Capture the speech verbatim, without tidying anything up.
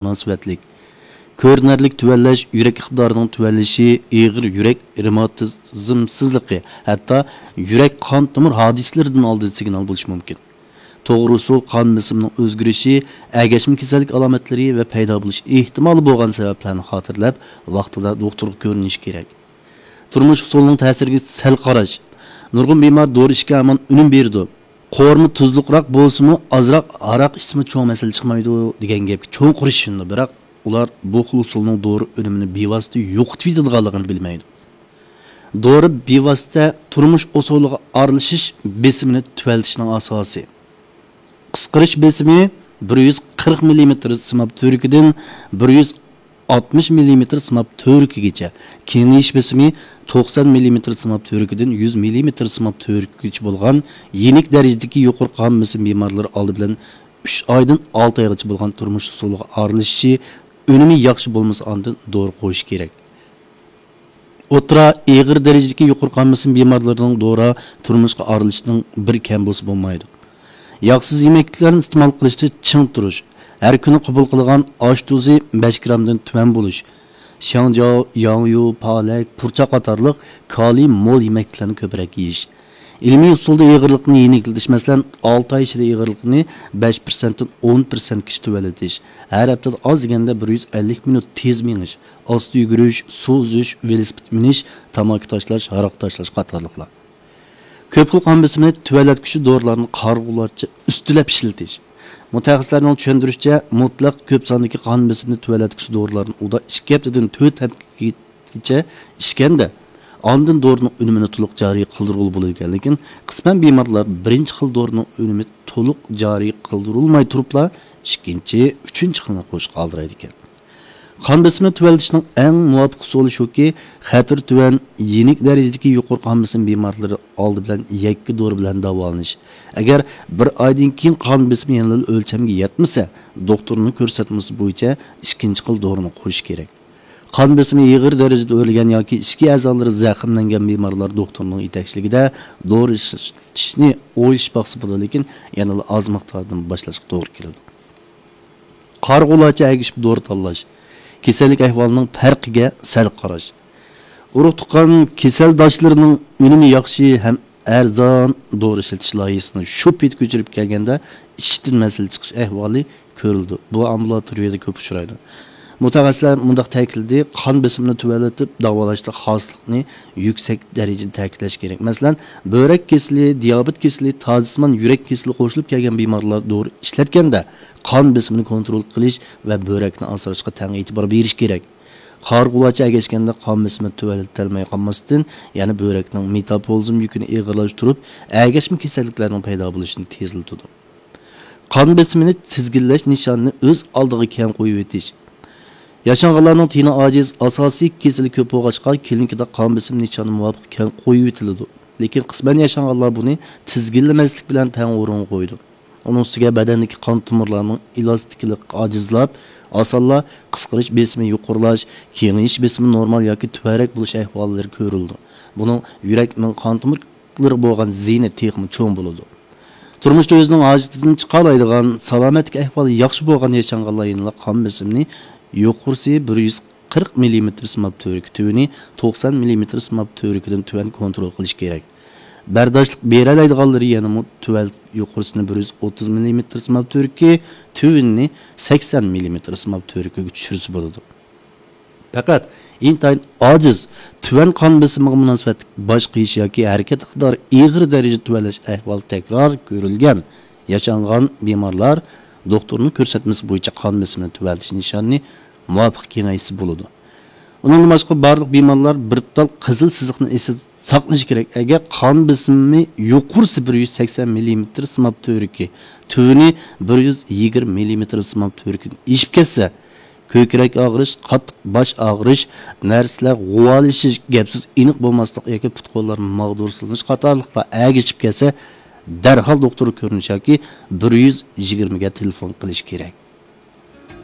مۇناسىۋەتلىك. كۆرۈنەرلىك تۆۋەنلەش يۈرەك ئىقتىدارىنىڭ تۆۋەنلىشى، ئېغىر يۈرەك رېماتىزمسىزلىقى، ھەتتا يۈرەك قان تومۇر ھادىسىلىرىدىن ئالدىن سىگنال بولۇشى مۇمكىن. توغرا ئۇسۇل قان بېسىمىنىڭ ئۆزگىرىشى، ئەگەشمە كېسەللىك ئالامەتلىرى ۋە پەيدا بولۇش ئېھتىمالى بولغان سەۋەبلەرنى خاتىرىلەپ، ۋاقتىدا دوختۇرغا كۆرۈنۈش كېرەك. تۇرمۇش ئۇسۇلىنىڭ تەسىرىگە سەل قاراش. نۇرغۇن بىمار دورا ئىچكەن ھامان ئۈنۈم بېرىدۇ. قورۇما تۇزلۇقراق بولسىمۇ، ئازراق ھاراق ئىچسىمۇ چوڭ مەسىلە چىقمايدۇ دېگەن گەپكە چوڭقۇر ئىشىنىدۇ، بىراق ئۇلار بۇ خىل ئۇسۇلنىڭ دورا ئۈنۈمىنى بىۋاسىتە يوقىتىۋېتىدىغانلىقىنى بىلمەيدۇ. دورا بىۋاسىتە تۇرمۇش ئۇسۇلىغا ئارىلىشىش بېسىمىنى تۆۋەنلىتىشنىڭ ئاساسى. قىسقىرىش بېسىمى بىر يۈز قىرىق مىللىمېتىر سىماب تۈۋرۈكىدىن بىر يۈز ئاتمىش مىللىمېتىر سىماب تۈۋرۈكىگىچە، كېڭىيىش بېسىمى توقسان مىللىمېتىر سىماب تۈۋرۈكىدىن يۈز مىللىمېتىر سىماب تۈۋرۈكىگىچە بولغان يېنىك دەرىجىدىكى يۇقىرى قان بېسىم بىمارلىرى ئالدى بىلەن ئۈچ ئايدىن ئالتە ئايغىچە بولغان تۇرمۇش ئۇسۇلىغا ئارىلىشىشى، ئۈنۈمى ياخشى بولمىسا، ئاندىن دورا قويۇش كېرەك. ئوتتۇرا، ئېغىر دەرىجىدىكى يۇقىرى قان بېسىم بىمارلىرىنىڭ دورا تۇرمۇشقا ئارىلىشىشنىڭ بىر كەم بولسا بولمايدۇ. ياغسىز يېمەكلىكلەرنى ئىستېمال قىلىشتا چىڭ تۇرۇش، ھەر كۈنى قوبۇل قىلىدىغان ئاش تۇزى بەش گرامدىن تۆۋەن بولۇش، شياڭجياۋ، ياڭيۇ، پالەك، پۇرچاق قاتارلىق كالىي مول يېمەكلىكلەرنى كۆپرەك يېيىش. ئىلمىي ئۇسۇلدا ئېغىرلىقنى يېنىكلىتىش، مەسىلەن، ئالتە ئاي ئىچىدە ئېغىرلىقنى بەش پىرسەنتتىن ئون پىرسەنتكىچە تۆۋەنلىتىش، ھەر ھەپتىدە ئاز دېگەندە بىر يۈز ئەللىك مىنۇت تېز مېڭىش، ئاستا يۈگۈرۈش، سۇ ئۈزۈش، ۋېلىسىپىت مىنىش، تاماكا تاشلاش، ھاراق تاشلاش قاتارلىقلار. كۆپ خىل قان بېسىمىنى تۆۋەنلەتكۈچى دورىلارنى قارىغۇلارچە ئۈستىلەپ ئىشلىتىش. مۇتەخەسسىسلەرنىڭ چۈشەندۈرۈشىچە، مۇتلەق كۆپ ساندىكى قان بېسىمىنى تۆۋەنلەتكۈچى دورىلارنى ئۇدا ئىككى ھەپتىدىن تۆت ھەپتىگىچە ئىچكەندە، ئاندىن دورىنىڭ ئۈنۈمىنى تولۇق جارى قىلدۇرغىلى بولىدىكەن. لېكىن قىسمەن بىمارلار بىرىنچى خىل دورىنىڭ ئۈنۈمى تولۇق جارى قىلدۇرۇلماي تۇرۇپلا، ئىككىنچى، ئۈچىنچى خىلنى قوشۇشقا ئالدىرايدىكەن. قان بېسىمىنى تۆۋەنلىتىشنىڭ ئەڭ مۇۋاپىق ئۇسۇلى شۇكى، خەتىرى تۆۋەن، يېنىك دەرىجىدىكى يۇقىرى قان بېسىم بىمارلىرى ئالدى بىلەن يەككە دورا بىلەن داۋالىنىش. ئەگەر بىر ئايدىن كېيىن قان بېسىمى يەنىلا ئۆلچەمگە يەتمىسە، دوختۇرنىڭ كۆرسەتمىسى بويىچە ئىككىنچى خىل دورىنى قويۇش كېرەك. قان بېسىمى ئېغىر دەرىجىدە ئۆرلىگەن ياكى ئىچكى ئەزالىرى زەخىملەنگەن بىمارلار دوختۇرنىڭ يېتەكچىلىكىدە دورا ئىشلىتىشنى ئويلىشىپ باقسا بولىدۇ، لېكىن يەنىلا ئاز مىقداردىن باشلاشقا توغرا كېلىدۇ. قارىغۇلارچە ئەگىشىپ دورا تاللاش، كېسەللىك ئەھۋالىنىڭ پەرقىگە سەل قاراش. ئۇرۇق تۇغقان كېسەلداشلىرىنىڭ ئۈنۈمى ياخشى ھەم ئەرزان دورا ئىشلىتىش لايىھىسىنى شۇ پېتى كۆچۈرۈپ كەلگەندە ئىچىشتىن مەسىلە چىقىش ئەھۋالى كۆرۈلىدۇ. بۇ ئامبۇلاتورىيەدە كۆپ ئۇچرايدۇ. مۇتەخەسسىسلەر مۇنداق تەكىتلىدى، قان بېسىمىنى تۆۋەنلىتىپ داۋالاشتا خاسلىقنى يۈكسەك دەرىجىدە تەكىتلەش كېرەك. مەسىلەن، بۆرەك كېسىلى، دىيابېت كېسىلى، تازىسىمان يۈرەك كېسىلى قوشۇلۇپ كەلگەن بىمارلار دورا ئىشلەتكەندە، قان بېسىمىنى كونترول قىلىش ۋە بۆرەكنى ئاسراشقا تەڭ ئېتىبار بېرىش كېرەك. قارىغۇلارچە ئەگەشكەندە قان بېسىمى تۆۋەنلىتەلمەي قالماستىن، يەنە بۆرەكنىڭ مېتابولىزم يۈكىنى ئېغىرلاشتۇرۇپ، ئەگەشمە كېسەللىكلەرنىڭ پەيدا بولۇشىنى تېزلىتىدۇ. قان بېسىمىنى تىزگىنلەش نىشانىنى ئۆز ئالدىغا كەڭ قويۇۋېتىش. ياشانغانلارنىڭ تېنى ئاجىز، ئاساسىي كېسىلى كۆپ بولغاچقا، كلىنىكىدا قان بېسىم نىشانى مۇۋاپىق كەڭ قويۇۋېتىلىدۇ. لېكىن قىسمەن ياشانغانلار بۇنى تىزگىنلىمەسلىك بىلەن تەڭ ئورۇنغا قويىدۇ. ئۇنىڭ ئۈستىگە بەدەندىكى قان تومۇرلارنىڭ ئېلاستىكلىقى ئاجىزلاپ، ئاسانلا قىسقىرىش بېسىمى يۇقىرىلاش، كېڭىيىش بېسىمى نورمال ياكى تۆۋەنرەك بولۇش ئەھۋاللىرى كۆرۈلىدۇ. بۇنىڭ يۈرەك مېڭە قان تومۇر لىرىغا بولغان زىيىنى تېخىمۇ چوڭ بولىدۇ. تۇرمۇشتا ئۆزىنىڭ ھاجىتىدىن چىقالايدىغان، سالامەتلىك ئەھۋالى ياخشى بولغان ياشانغانلار يەنىلا قان بېسىمىنى يۇقىرىسى بىر يۈز قىرىق مىللىمېتىر سىماب تۈۋرۈكى، تۆۋىنى توقسان مىللىمېتىر سىماب تۈۋرۈكىدىن تۆۋەن كونترول قىلىش كېرەك. بەرداشلىق بېرەلەيدىغانلىرى يەنىمۇ تۆۋەن يۇقىرىسىنى بىر يۈز ئوتتۇز مىللىمېتىر سىماب تۈۋرۈكى، تۆۋىنىنى سەكسەن مىللىمېتىر سىماب تۈۋرۈكىگە چۈشۈرسە بولىدۇ. پەقەت ئىنتايىن ئاجىز، تۆۋەن قان بېسىمىغا مۇناسىۋەتلىك باش قېيىش ياكى ھەرىكەت ئىقتىدارى ئېغىر دەرىجىدە تۆۋەنلەش ئەھۋالى تەكرار كۆرۈلگەن ياشانغان بىمارلار دوختۇرنىڭ كۆرسەتمىسى بويىچە قان بېسىمىنى تۆۋەنلىتىش نىشانىنى مۇۋاپىق كېڭەيتسە بولىدۇ. ئۇنىڭدىن باشقا، بارلىق بىمارلار بىر تال قىزىل سىزىقنى ئېسىدە ساقلىشى كېرەك. ئەگەر قان بېسىمى يۇقىرىسى بىر يۈز سەكسەن مىللىمېتىر سىماب تۈۋرۈكى، تۆۋىنى بىر يۈز يىگىرمە مىللىمېتىر سىماب تۈۋرۈكىدىن ئېشىپ كەتسە، كۆكرەك ئاغرىش، قاتتىق باش ئاغرىش، نەرسىلەر غۇۋالىشىش، گەپ-سۆز ئېنىق بولماسلىق ياكى پۇت-قوللار ماغدۇرسىزلىنىش قاتارلىقلار ئەگىشىپ كەلسە، دەرھال دوختۇرغا كۆرۈنۈش ياكى بىر يۈز يىگىرمىگە تېلېفون قىلىش كېرەك.